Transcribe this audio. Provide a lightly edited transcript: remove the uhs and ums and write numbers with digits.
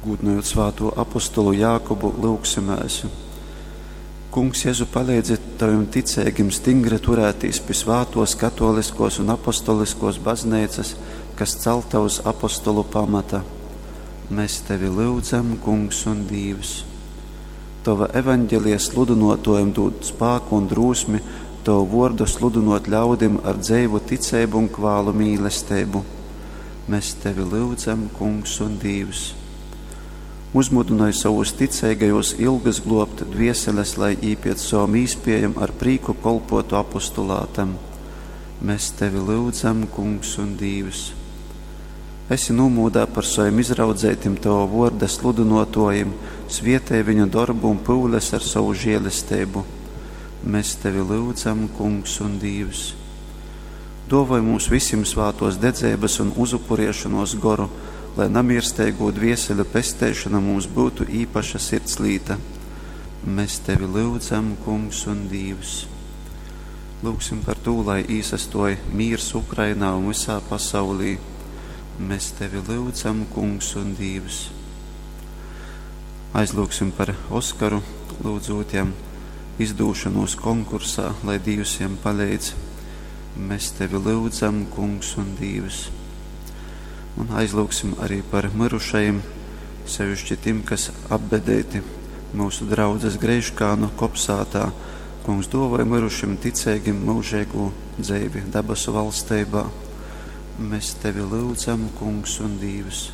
Gūdynojot svātū apostolu Jākubu, lyugsimēs. Kungs Jezu, paleidzi tavim ticeigim stingri turētīs pi svātōs katōliskōs un apostoliskōs bazneicas, kas calta uz apostolu pamata. Mēs tevi lyudzam, Kungs un Dīvs. Tova evaņgelija sludynōtōjim dūd spāku un drūsmi tovu vōrdu sludynōt ļaudim ar dzeivu ticeibu un kvālu mīlesteibu. Mēs tevi lyudzam, Kungs un Dīvs. Uzmudynoj sovus ticeigajūs ilgas globt dvieseles, lai jī piec sovom īspiejom ar prīku kolpuotu apostulātam. Mēs tevi lyudzam, Kungs un Dīvs. Esi nūmūdā par sovim izraudzeitim tova vuorda sludynuotuojim, svietej viņu dorbu un pyules ar sovu žielesteibu. Mēs tevi lyudzam, Kungs un Dīvs. Duovoj mums vysim svātuos dedzeibys un uzupuriešonuos goru, lai namiersteigū dvieseļu pesteišona mums byutu īpaša sirdslīta. Mēs tevi lyudzam, Kungs un Dīvs. Lūgsim par tū, lai īsastuoj mīrs Ukrainā un vysā pasaulī. Mēs tevi lyudzam, Kungs un Dīvs. Aizlūgsim par Oskaru, lūdzūt jam izdūšanos konkursā, lai Dīvs jam paleidz. Mēs tevi lyudzam, Kungs un Dīvs. Un aizlūgsim arī par myrušajim, sevišķi tim, kas apbedēti mūsu draudzes Greiškānu kopsātā. Kungs dāvāja myrušim ticeigim mūžīgo dzeivi dabasu valsteibā. Mēs tevi lūdzam, Kungs un Dīvs.